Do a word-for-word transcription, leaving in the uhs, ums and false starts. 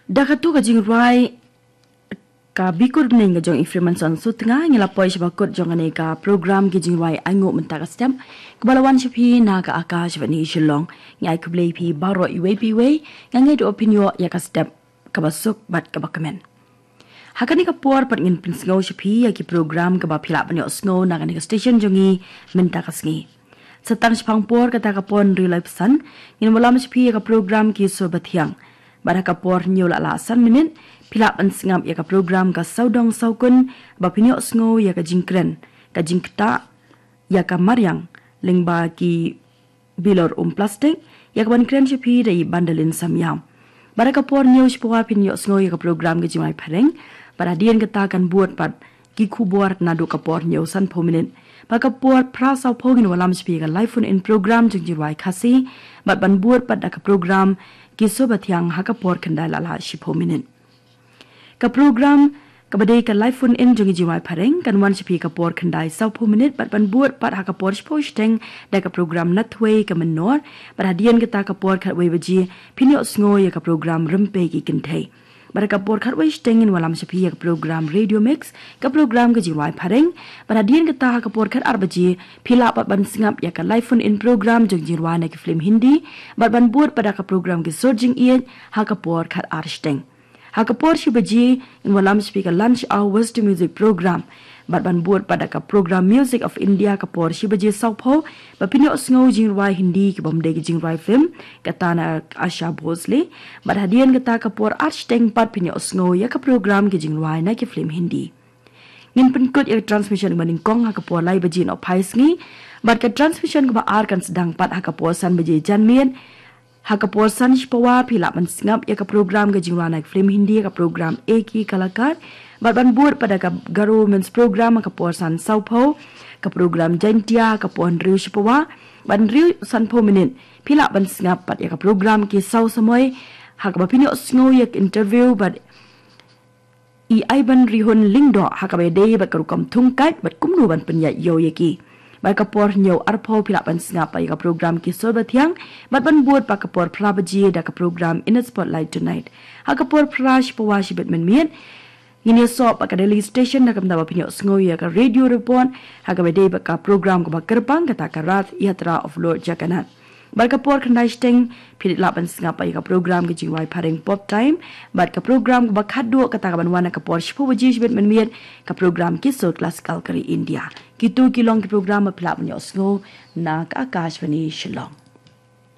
Da katu ka jingrwai ka Bikur Bneng ka jong i Freemanson Sutnga, ngi la poi sha ba kut jong kane ka program ki jingrwai ainguh mynta ka step, kaba la wan sha phi na ka Akashvani Shillong. Ngi ai khublei phi baroh iwei pa iwei, nga ngeit u pynïoh ïa ka step kaba suk bad kaba kmen. Ha kane ka por pat ngin pynsngew sha phi ïa ki program kaba phi lah ban ïohsngew na kane ka station jong ngi mynta ka sngi. Sa tang shaphang por kata ka por hynriew laiphew san, ngin wallam sha phi ïa ka program Ki Sur Bathiang. Bad ha ka por hynñiew la lah san minit, phi lah ban sngap ïa ka program Ka Sawdong Sawkun, ba phin ïohsngew ïa ka jingkren, ka jingktah ïa ka mariang lyngba ki bilor um plastik, ïa kaban kren sha phi da i Bandalin Samïaw. Bad ha ka por hynñiew shiphew phin ïohsngew ïa ka program Ka Jingrwai Phareng. Bad hadien kata kan bud pat ki khubor naduh ka por hynñiew sanphew minit. Bad ha ka por phra sawphew ngin wallam sha phi ïa ka live phone in program jong jingrwai Khasi. Bad ban bud pat da ka program Ki Sur Bathiang ha ka por khyndai la lah shiphew minit. Ka program kaba dei ka live phone in jong jingrwai Phareng kan wan sha phi ka por khyndai sawphew minit bad ban bud pat ha ka por shiphew shiteng da ka program Nathwei Ka Mynnor. Bad hadien kata ka por khatwei baje phin ïohsngew ïa ka program Rympei Ki Kynthei. Bad ha ka por khatwei shiteng ngin wallam sha phi ïa ka program Radio Mix, ka program Ka Jingrwai Phareng. Bad hadien kata ha ka por khatar baje phi lah pat ban sngap ïa ka live phone in program jong jingrwai na ki film Hindi. Bad ban bud pat da ka program Ki Sur Jingïeit ha ka por khatar shiteng. Ha ka por shi baje ngin wallam sha phi ka Lunch Hour Western Music Program. Bad ban bud pat da ka program Music of India ha ka por shi baje sawphew, ba phin ïohsngew jingrwai Hindi kibym dei ki jingrwai film, kata na Asha Bhosle. Bad hadien kata ka por ar shiteng pat phin ïohsngew ïa ka program Ki Jingrwai na ki film Hindi. Ngin pynkut ïa ka transmission kaba nyngkong ha ka por lai baje nohphai sngi. Bad ka transmission kaba ar kan sdang pat ha ka por san baje janmiet. Ha ka por san shiphew phi lah ban sngap ïa ka program Ka Jingrwai na ki film Hindi, ka program Ek Hi Kalakar. Bad ban bud pat da ka Garo Women's Program ha ka por san sawphew, ka program Jaintia ha ka por hynriew shiphew bad hynriew sanphew minit. Phi lah ban sngap pat ïa ka program Ki Saw Samoi, ha kaba phin ïohsngew ïa ka interview bad i Aiban Rihun Lyngdoh ha kaba ïadei bad ka rukom thung kait bad kumno ban pynïaid ïew ïa ki. Bad ka por hynñiew arphew phi lah ban sngap pat ïa ka program Ki Sur Bathiang, bad ban bud pat ka por phra baje da ka program In the Spotlight Tonight. Ha ka por phra shiphew shibit mynmiet ngin ïasoh pat ka Delhi Station da ka bynta ba phin ïohsngew ïa ka radio report ha kaba ïadei bad ka program kaba kyrpang, kata ka Rath Yatra of Lord Jagannath. Bad ka por khyndai shiteng phi lah ban sngap pat ïa ka program Ka Jingrwai Phareng Pop Time. Bad ka program kaba khatduh kata kaban wan ha ka por shiphew baje shibit mynmiet, ka program Ki Sur Classical ka ri India. Kitu ki long ki program ba phi lah ban ïohsngew na ka Akashvani Shillong.